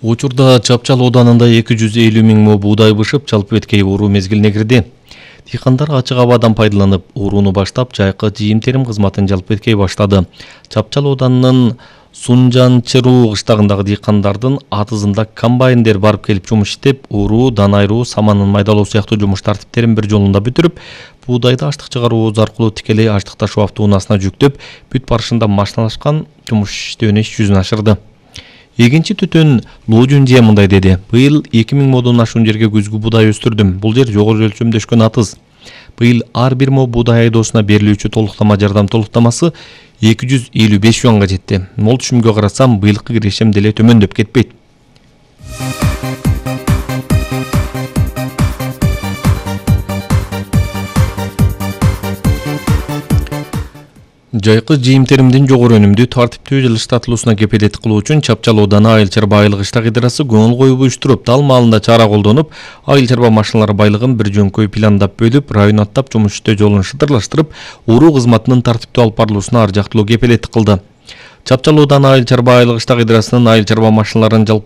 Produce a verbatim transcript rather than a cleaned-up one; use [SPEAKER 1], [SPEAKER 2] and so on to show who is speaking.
[SPEAKER 1] Учурда Чапчал ооданында эки жүз элүү миң мо буудай бышып, жалпы эткей уруу мезгилине кирди. Дыйкандар ачык абадан пайдаланып, урууну баштап, жайкы жыйым-терим кызматын жалпы эткей баштады. Чапчал ооданынын Сунжанчыруу кыштагындагы дыйкандардын атызында комбайндер барып келип жумуш иштеп, уруу, дан айыруу, саманын майдалоо сыяктуу жумуш тартиптерин бир жолунда бүтүрүп, буудайды аштык чыгаруу аркылуу тикелей аштык ташуу автоунаасына жүктөп, бүт барышында машиналашкан жумуш иштөөнү иш жүзүнө ашырды. Эгинчи түтөн Лужунжия мындай деди: быйыл эки миң модон ашуун жерге күзгү буудай өстүрдүм. Бул жер жогору өлчөмдөшкөн атыз. Быйыл ар бир мо буудай айдоосуна берилүүчү толуктама жардам толуктамасы эки жүз элүү беш юанга жетти. Мол түшүмгө карасам, быйылкы кирешим деле төмөндөп кетпейт. Жайкы жыйым-теримдин жогору өнүмдүү, тартиптүү жылыштатылуусуна кепилдик кылуу үчүн Чапчал ооданы айыл чарба айылык иштак ыдырасы көңүл коюп уюштуруп, дал маалында чара колдонуп, айыл чарба машиналары байлыгын бир жөнкөй пландап бөлүп, район аттап жумуш иштөө жолун шыдырлаштырып, уруу кызматынын тартиптүү алып барылуусуна ар жактылуу кепилдик кылды. Чапчал ооданы айыл чарба айылык иштак ыдырасынын айыл чарба машиналарын жалпы